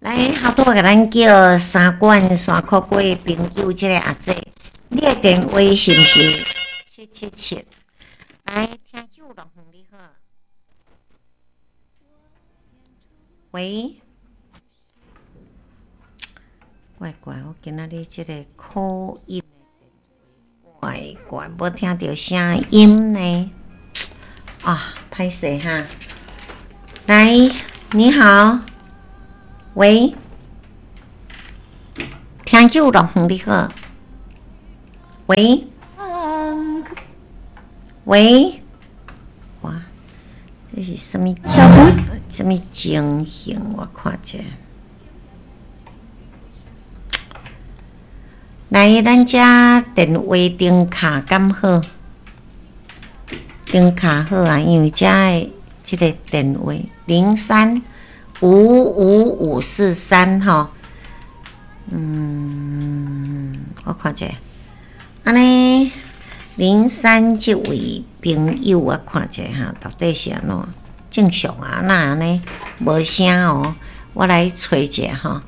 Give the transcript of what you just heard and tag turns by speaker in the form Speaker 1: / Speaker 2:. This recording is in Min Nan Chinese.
Speaker 1: 來，頭拄仔共咱叫三管山口過的朋友，這个阿姐，你的電話是毋是777？來，聽友樂園你好。喂，怪怪，我今仔日這个口音怪怪，無聽著聲音呢。啊，歹勢哈。來，你好，喂，聽友樂園你好，喂，喂，哇，這是啥物啥物情形？我看者。來，咱遮電話燈卡敢好？燈卡好啊，因為遮的這个電話0355543吼，我看者，按呢03這位朋友，我看者哈，到底是按怎？正常啊，哪按呢無聲哦？我來揣者吼。